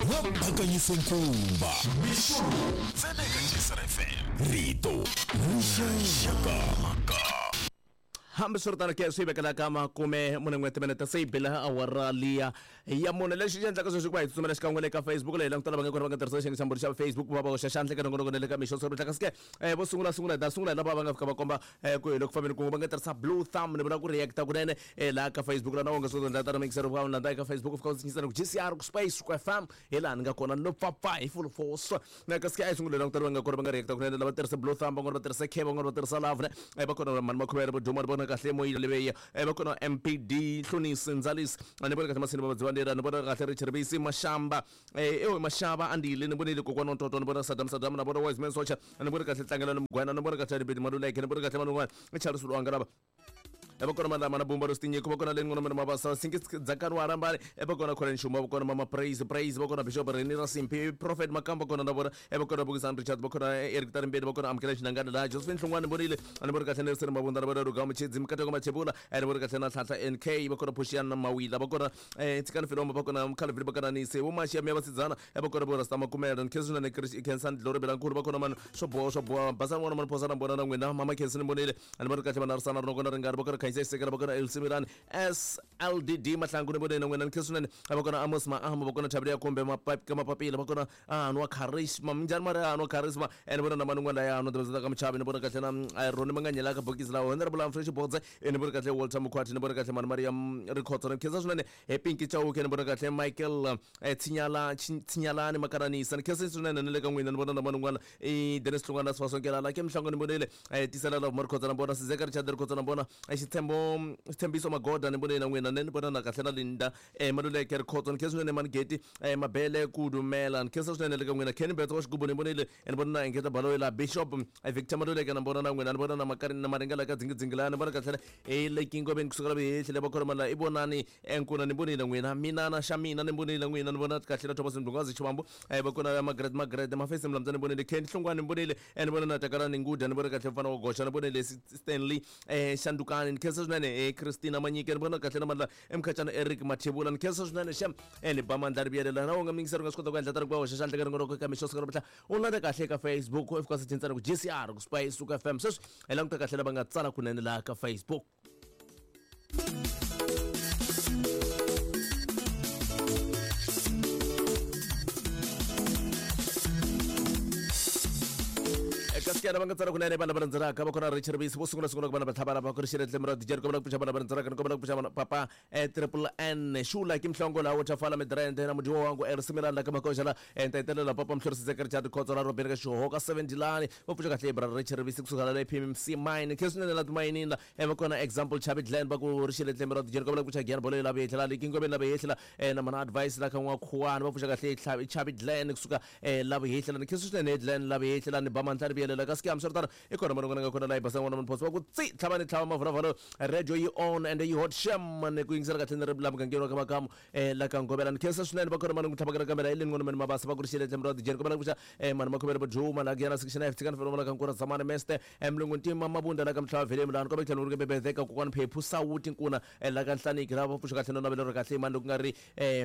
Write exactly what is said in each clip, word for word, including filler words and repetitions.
Va phakanyise nkumba mixo ntsena eka G C R F M rito rixaka. Hambiswiritano ke swi vekela ka makume mune n'we timinete se yi bile awara liya ya mune. Lexi xi endlaka sweswi ku va hi tsutsumela xikan'we le ka Facebook leyi langutela va nga kona va nga tirhisa xiyenge xa mbhuri xa Facebook va va hoxa xandla eka nongonoko na le ka mixo swo kasi ke vo sungula sungula hi ta sungula hi lava va nga fika va komba ku hi le ku fambeni kun'we va nga tirhisa blue thumb ni vula ku reacta kunene laha ka Facebook laha na wonge swo endla tano mixer va landza eka Facebook u fika u tshinyisa ku G C R ku space ku F M hi laha ni nga kona no pfapfa hi full force. Na kasi ke a hi sungule langutela va nga kona va nga reacta kunene lava tirhisa blue thumb van'wana va tirhisa K van'wana va tirhisa love ne va kona mani makhuvele vo duma vona kahle moyile leyi va kona M P D Hlonisi Ndzalisi ni vona kahle Masini Vadzivanera ni vona kahle Richard Bisi Mashamba eh ewe Mashaba andile ni vonile kokwana Ntoto ni vona Saddam Saddam na vona Wise Man Socha ni vona kahle Tlangela ni Mugwana ni vona kahle Bidi Maluleke ni vona kahle Manungwana ni Charles Lwanga lava va kona Malama na Bumba Rostinyiko va kona Leni Ngona Mabasa Sinki Dzakani wa Rambani va kona Colin Shuma va kona Mama Praise Praise va kona Bishop Reni Rasimpi Prophet Makamba kona na vona va kona Bukisani Richard va kona Eric Tarimbeni va kona Amukela Xinangana laha Josephine Hlongwane vonile ni vona kahle Nelson Mabunda na vona Rugama Chidzi Mkateko Machebula ni vona kahle na Nhlanhla N K va kona Phushiana Mawila va kona Tsikani Filombo va kona Mkhalivili va kona Nise vo Mashiya Miya Vasidzana va kona Borasta Makumela ni Khensi na Chris Khensan Dlore Belankulu va kona mani swo boha swo boha Basani n'wana mani Phosana mbona na n'wina Mama Khensi ni vonile ni vona kahle Manarisana Rinokona Ringari va kona Khanyisekela va kona Elsimirani S L D D Mahlangu ni vonile n'wina ni khensa swinene va kona Amos Maahama va kona Thabile ya Kumbe Mapapika Mapapila va kona Anwa Charisma minjhani mari Anwa Charisma ni vona na mani n'wana laya Anwa Tiveza ka Muchavi ni vona kahle na Roni Manganyela ka bokisi lawa Honorable Humphrey Xibodze ni vona kahle Walter Mukhwati ni vona kahle Mani Maria Rikhotso ni khensa swinene Pinky Chauke ni vona kahle Michael Tshinyala Tshinyalani Makaranisa ni khensa swinene ni le ka n'wina ni vona na mani n'wana i Dennis Hlongwana Sifasonkelala la ke Mhlango ni vonile Tisela Love Marikhotso na vona Sizeka Richard Rikhotso na vona Xitshembo Xitshembiso Magoda ni vonile na n'wina ni vona na kahle na Linda Maluleke Rikhotso ni khensa swinene Manigeti Mabele Kudumela ni khensa swinene le ka n'wina Kenny Betso wa Xigubu ni vonile ni vona na Engeta Baloyi la Bishop Victor Maluleke na vona na n'wina ni vona na Makarini na Maringela ka Dzingidzingi la ni vona kahle e le Kingobeni kusukela Vihehli va khona la i vonani Nkuna ni vonile n'wina mina na xa mina ni vonile n'wina ni vona kahle na Thomas Ndungazi Chivambu va kona Margaret Margaret Mafesi Mlamza ni vonile Ken Hlongwane ni vonile ni vona na Takalani Nguda ni vona kahle mfana wa Goxa ni vonile Stanley Shandukani ni khensa swinene Christina Manyike ni vona kahle na Mandla Mkhachana Eric Mathebula ni khensa swinene xem ni ba Mandla Ribiyelela na wonga mingisero nga swi kota ku endla tari ku va hoxa xandla ka rin'wana ka mixo siku ra u landza kahle eka Facebook u fika swi ku G C R ku Spice ku F M sweswi hi languta kahle lava nga tsala kunene laha ka Facebook. Kasi va nga tsala kunene vanhu lava landzelaka va kona Richard Bisi vo sungula sungula ku vana va tlhavana va ku ri xiretle mira dijeri kombela ku pfuxa vana va landzelaka ni kombela ku pfuxa papa triple N Xula ki Mhlongo laha wo Tafala Midrand na mudiwa wangu Ersimirani la ka Makoxa la entaitelela papa Mhlorisi Richard Khotso la Robert ka Xihoka seven Dilani va pfuxa kahle bra Richard Bisi kusuka la P M C mine khensa swinene la timayinini la va kona example Chavi Glen va ku ri xiretle mira dijeri kombela ku pfuxa Giyani Bolo la Vehla la Kingobeni la Vehla na mana advice la ka n'wa Khuwani va pfuxa kahle Chavi Glen kusuka la Vehla ni khensa swinene Glen la Vehla ni ba Mandla Ribiyelela kasi ke hambiswiritano i kona mani n'wana nga kona laha yi basa n'wana mani phoso va ku tsi tlhava ni tlhava mavulavula radio yi on and yi hot shem ni ku yingisela kahle ni ri la mugangeni wa ka Makamu la ka Ngovela ni khensa swinene va kona mani ku tlhavakela kamera i leni n'wana mani Mabasa va ku ri xiletle mura dijeni kombela ku pfuxa mani Makhuvele Boduma la Giyana section F Tsikani Felomela ka Nkura Zamani Meste Mlungu Ntima Mabunda la ka Mhlava Velemu la ni kombela ku tlhela ni ri bebezeka kokwana Phephu Sawuti Nkuna la ka Nhlaniki lava va pfuxa kahle no navelo ri kahle mani loko ku nga ri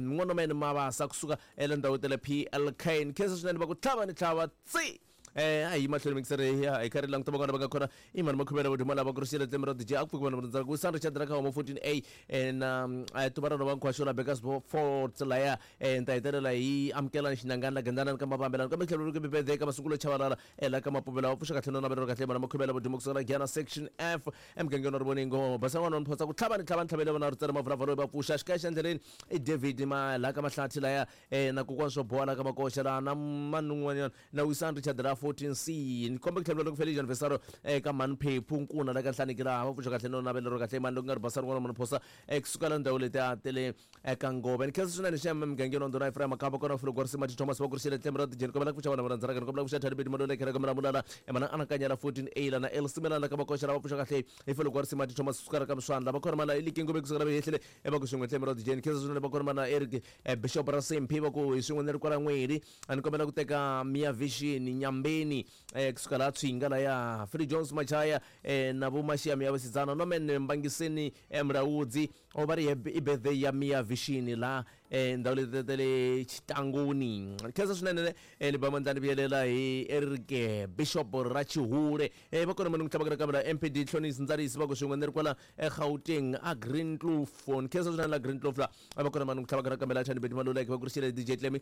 n'wana mani Mabasa kusuka ela ndhawu tele P L K ni khensa swinene va ku tlhava ni tlhava tsi eh ayi mahlweni mixere ya hi karhi languta van'wana va nga kona i mani Makhuvele Boduma lava ku ri xiletle mira D J a ku pfuki vanhu va ku San Richard ra ka Homo fourteen A na tuvarano va Nkhwaxo la Bakers Fort laya ni ta hetelela hi amukela Xinangani la Gandana ka Mavambelani kambe tlhelo ri bebede ka Masungulo Chavalala la ka Mapuvela va pfuxa kahle no navelo kahle mani Makhuvele Boduma kusuka la Giyana section F emugangeni wa Rivoningo basa n'wana wa Photsa ku tlhava ni tlhava ni tlhavele vona ri tsere mavulavula va pfuxa xikaya xa endleleni i David ma la ka Mahlathi laya na kokwana swo boha la ka Makoxa la na mani un'wanyana na Wisan Richard la fourteen C ni komba ku tlhela loko Felicia Anniversary eka Mani Phephu Nkuna la ka Nhlaniki laha va pfuxa kahle no navelo ro kahle mani loko nga ri basa rin'wana mani Phosa kusuka la ndhawu leti a tele eka Ngove ni khensa swinene xa mugangeni wa Ndhuna Ephraim Makamba kona Fulugorisi Mati Thomas va ku ri xiletle mira dijeni kombela ku pfuxa vana va landzelaka ni kombela ku pfuxa Thabidi Maluleke la ka Miramulala mana anakanya la fourteen A la na Elsimelana la ka Makoxa la va pfuxa kahle hi Fulugorisi Mati Thomas kusuka ka Mswandla va kona mana Likingo kusuka la Vehehlele va ku swin'we tlhe mira dijeni khensa swinene va kona mana Eric Bishop Rasimpi va ku hi swin'we ni ri kwala N'weri a ni kombela ku teka Mia Vision Nyambe Tarimbeni eh kusuka la Tswinga la ya Free Jones Machaya eh na vho Mashiami ya vhasidzana no men Mbangiseni Mraudzi o vha ri i birthday ya Mia Vishini la eh ndhawu leti ta le Xitanguni khensa swinene eh ni ba mandlani vuyelela hi Eric Bishop Rachihule eh va kona munhu tlhavaka kamera M P D Hlonisi Ndzarisi va ku swin'we ni ri kwala eGauteng a Green Kloof khensa swinene la Green Kloof la va kona munhu tlhavaka kamera Thandi Beti Maluleke va ku rixile D J Clemi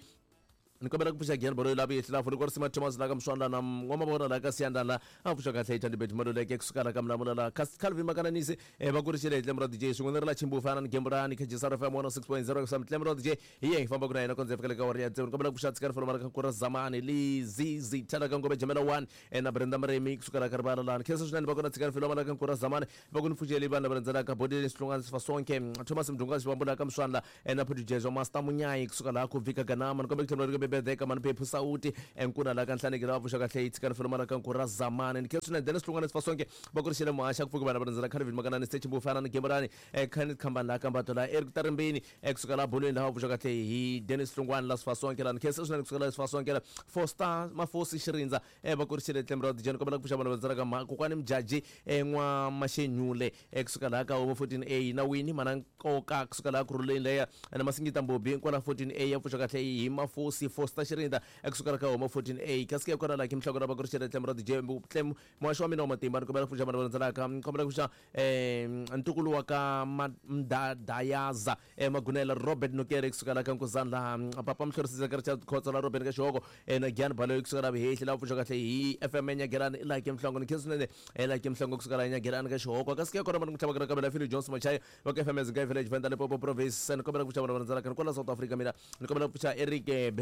ni kombela ku pfuxa Gian Baloyi la vuyehlelafu ni ku risima Thomas la ka Mswandla na n'wama vona la ka Siyanda la a pfuxa kahle Thandi Beti Maluleke kusuka la ka Mlamula la Calvin Makananisi eh va ku rixile hi Tlemro D J swin'we ni ri la Chimbufana ni Gemburani K G S R F M one oh six point zero kusam Tlemro D J hi ye hi famba ku na yena kondze fika le ka wari ya tsevu ni kombela ku pfuxa Tsikani Folomara ka Kura Zamani Lizizi Thala ka Ngome Jamela one eh na Brenda Mremi kusuka la ka Rivala la khensa swinene va kona Tsikani Folomara ka Kura Zamani va ku ni pfuxele vanhu lava rhandzelaka Bodeni Sihlungwana Sifasonke Thomas Mdunga Xivambula ka Mswandla eh na Producer Master Munyayi kusuka la ku Vika Ganama ni kombela ku tlhela Bebedeka mani Phephu Sauti enkuna la ka Nhlaneki lava pfuxa kahle yi Tsikani Folomara ka Kura Zamani ni khensa swinene Dennis Hlungwana Sifasonke va ku rixele muhaxa ku pfuka vanhu va rhandzela Calvin Makanani Stage Mbufana ni Gemburani eh Kenneth Khambani la ka Mbato la Eric Tarimbeni eh kusuka la Bolweni lava pfuxa kahle hi Dennis Hlungwana la Sifasonke la ni khensa swinene kusuka la Sifasonke la Foster Mafosi Xirindza eh va ku rixele Tlemro D J ni kombela ku pfuxa vanhu va rhandzela ka Kokwani Mjaji eh n'wa Mashenyule eh kusuka la ka Homo fourteen A na Winnie mana Nkoka kusuka la Kuruleni leya na Masingita Mbobi kwala fourteen A ya pfuxa kahle hi Mafosi Foster Xirinda kusuka la ka Homo fourteen A kasi ke kona la Kim Hloko va ku rixele Tlemro D J Tlem muhaxi wa mina wa matimba ni kombela ku pfuxa vanhu va rhandzelaka ni kombela ku pfuxa eh ntukulu wa ka Mdadayaza eh Magunela Robert Nokere kusuka la ka Nkuzana la Papa Mhlorisisa ka Richard Khotso la Robert ka Xihoko eh na Gian Baloyi kusuka la Vihehli la pfuxa kahle hi F M Nyagerani la Kim Hlongo ni khensa swinene eh la Kim Hlongo kusuka la Nyagerani ka Xihoko kasi ke kona vanhu ku tlhavaka kamera Philip Jones Machaya wa ka F M Zinga Village Venda Limpopo Province ni kombela ku pfuxa vanhu va rhandzelaka ni kwala South Africa mina ni kombela ku pfuxa Eric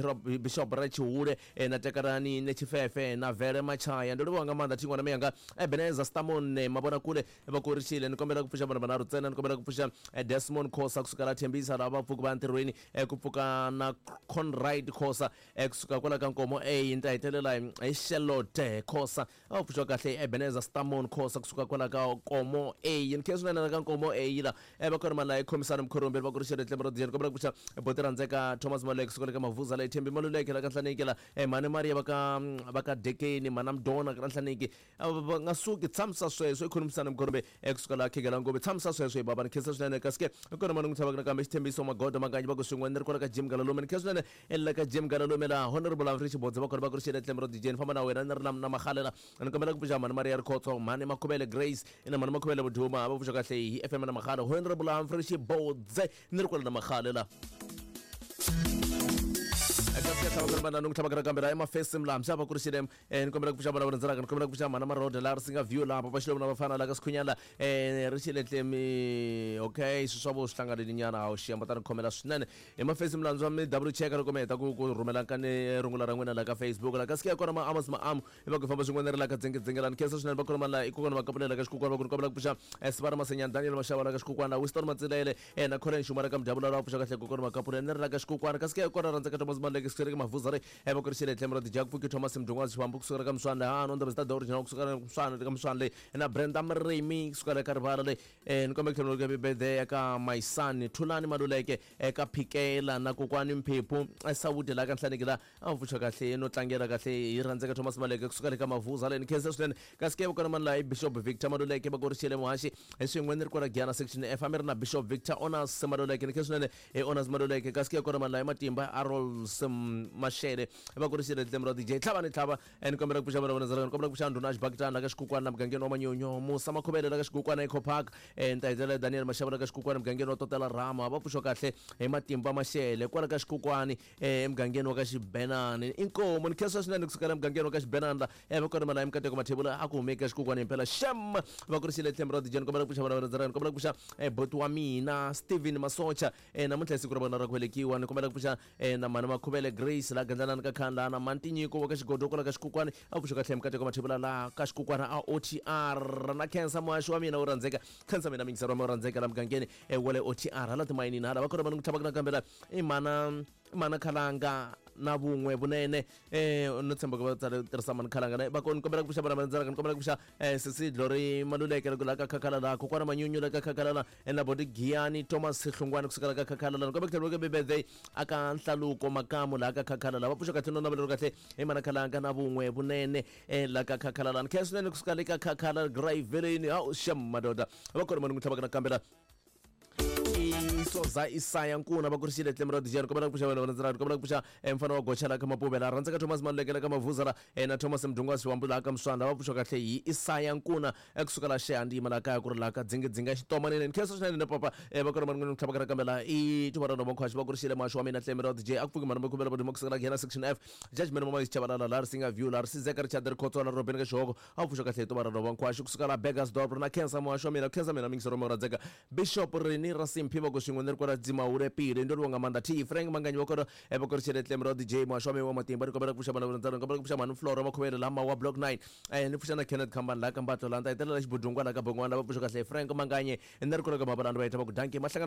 Bishop Rachihule na Tekarani ne Chifefe na Vele Machaya ndo livhuwa nga maanḓa thingwana miyanga Ebeneza Stamon mabona kule va ku rixile ni kombela ku pfuxa vanhu vanharhu ntsena ni kombela ku pfuxa Desmond Khosa kusuka la Thembisa lava va pfuka va ntirhweni ku pfuka na Conrad Khosa kusuka kwala ka Nkomo A ni ta hetelela hi Charlotte Khosa a pfuxiwa kahle Ebeneza Stamon Khosa kusuka kwala ka Nkomo A ni khensa swinene ka Nkomo A la va kona mali khomisana Mkhorombe va ku rixile Tlemro D J ni kombela ku pfuxa Boti Rhandzeka Thomas Maluleke kusuka ka Mavuza la Thembi Maluleke la ka Nhlaneki la Mhani Maria va ka va ka Dekeni Mana Mdona ka Nhlaneki va nga suki tshamisa sweswo i khomisana Mkhorombe kusuka la Khegela Ngome tshamisa sweswo hi baba ni khensa swinene kasi ke kona mani n'wi tlhavaka nakambe Xithembiso Magodo Makanyi va ku swin'we ni ri kwala ka Jim Galalume ni khensa swinene la ka Jim Galalume la Honorable Humphrey Xibodze va kona va ku rixile Tlemro D J ni famba na wena ni ri na na Magalela ni kombela ku pfuxa Mhani Maria Rikhotso Mhani Makhuvele Grace na Mhani Makhuvele Vuduma va pfuxa kahle hi F M na Magala Honorable Humphrey Xibodze ni ri kwala na Magalela tlhavaka emafesi mlamxa va ku rixile ni kombela ku pfuxa vana va rhandzelaka ni kombela ku pfuxa Mhana Maroda la ri singa view laha Papa Xilomu na vafana la ka Sikhunyana eh rixile tlemi okay swi swa vo swi hlanganile nyana hawu xiyamba ta ni khomela swinene emafesi mlandzu wa mi double check loko mi heta ku ku rhumela nkani rungula ra n'wina la ka Facebook la kasi ke kona ma Amos Maamu va ku famba swin'wana ri la ka dzingedzingelani khensa swinene va kona ma la i kokwana va kapulela ka Xikukwana va ku ni kombela ku pfuxa Sivara Masenyani Daniel Mashava la ka Xikukwana Winston Matsilele na Colin Xumara ka Mdabula la pfuxa kahle kokwana va kapulela ni ri la ka Xikukwana kasi ke kona rhandza ka Thomas Maluleke Sikereke Mavuzare va ku rixile Tlemro D J Pfuki Thomas Mdungwa Xivambu kusuka ka Mswandle ha no ndaba zita original kusuka ka Mswandle ka Mswandle na Brenda Mremi kusuka ka Rivala le ni kombela ku tlhela birthday ka my son Thulani Maluleke eka Phikela na kokwani Mphephu Sawuti la ka Nhlaneki la a pfuxa kahle no tlangela kahle hi rhandzeka Thomas Maluleke kusuka le ka Mavuza le ni khensa swinene kasi ke vukona mani la i Bishop Victor Maluleke va ku rixile muhaxi hi swin'we ni ri kwala Giyana section F a mi ri na Bishop Victor Onas Maluleke ni khensa swinene hi Onas Maluleke kasi ke kona mani la i Matimba Arols Mashele va ku rixile Tlemro D J tlhava ni tlhava ni kombela ku pfuxa vana va ni kombela ku pfuxa Ndhuna Xibakitana la ka Xikukwana na mugangeni wa Manyonyo Musa Makhuvele la ka Xikukwana Eco Park ni ta hetelela Daniel Mashava la ka Xikukwana mugangeni wa Totela Rama va pfuxiwa kahle hi Matimba Mashele kwala ka Xikukwani emugangeni wa ka Xibenani inkomo ni khensa swinene kusukela emugangeni wa ka Xibenani la va kona mali ya Mikateko Mathebula a ku hume ka Xikukwani himpela xem va ku rixile Tlemro D J ni kombela ku pfuxa vana va ni kombela ku pfuxa boti wa mina Steven Masocha namuntlha hi siku ra vona ra ku velekiwa ni kombela ku pfuxa na Mhani Makhuvele Grace la gandlanani ka Khandla na Mantinyiko wa ka Xigodo kwala ka Xikukwani a pfuxa kahle Mikateko Mathebula la ka Xikukwana a O T R na khensa muhaxi wa mina wo rhandzeka khensa mina mingisero wa mina wo rhandzeka la mugangeni wa le O T R hala timayinini hala va kona vanhu ku tlhavaka nakambe la i mana mana Khalanga na vun'we vunene um no tshemba ku va tsale tirhisa mani khalanga va ko ni kombela ku pfuxa vana va ndzalaka ni kombela ku pfuxa um sesi Glory Maluleke loko la ka khakhala la kokwana Manyunyu la ka khakhala la na bodi Giyani Thomas Hlungwani kusukela ka khakhala la ni kombela ku tlhela ku birthday aka Nhlaluko Makamu la ka khakhala la va pfuxa kahle no navela kahle hi mana khalanga na vun'we vunene la ka khakhala la ni khensa swinene kusuka le ka khakhala Graveleni hawu xem madoda va kona mani n'wi tlhavaka nakambe la Soza Isaya Nkuna va kurisile tlemo ra dijani kombela ku pfuxa vana va ndzela kombela ku pfuxa mfana wa gocha la ka Mapuvela rhandzeka Thomas Maluleke la ka Mavuza la na Thomas Mdungwasi wa Mbula ka Mswanda va pfuxa kahle hi Isaya Nkuna ekusuka la Xehandima la kaya ku ri la ka Dzingidzinga Xitomanene ni khensa swinene na papa va kona mani n'wi tlhavaka nakambe la i Tuva ra Nova va kurisile maxo wa mina tlemo ra D J a ku pfuki mani va khumbela va kusuka la Ghena section F Judgment Mama Chabalala la Risinga View la Risizeka Richard Rikhotswa la Robin ka Xihoko a pfuxa kahle hi Tuva ra Nova Nkhwaxi kusuka la Burgersdorp na khensa muhaxo wa mina khensa mina mingisero mo rhandzeka Bishop Reni Rasimphi va ku swin'we ni ri kwala Dzimawure Pile ndo ri nga manda T Frank Manganyi wa kona va kurisile tlemo ra D J muhaxo wa mina wa matimba ni kombela ku pfuxa vana va ndzalo ni kombela ku pfuxa mhani Flora Makhuvele lama wa Block nine eh ni pfuxa na Kenneth Khambani la ka Mbatlo la ni ta hetelela xibudungwa la ka Bongwana va pfuxa kahle Frank Manganye ni ri kwala ka Mabalani va heta va ku dankie mahlangana.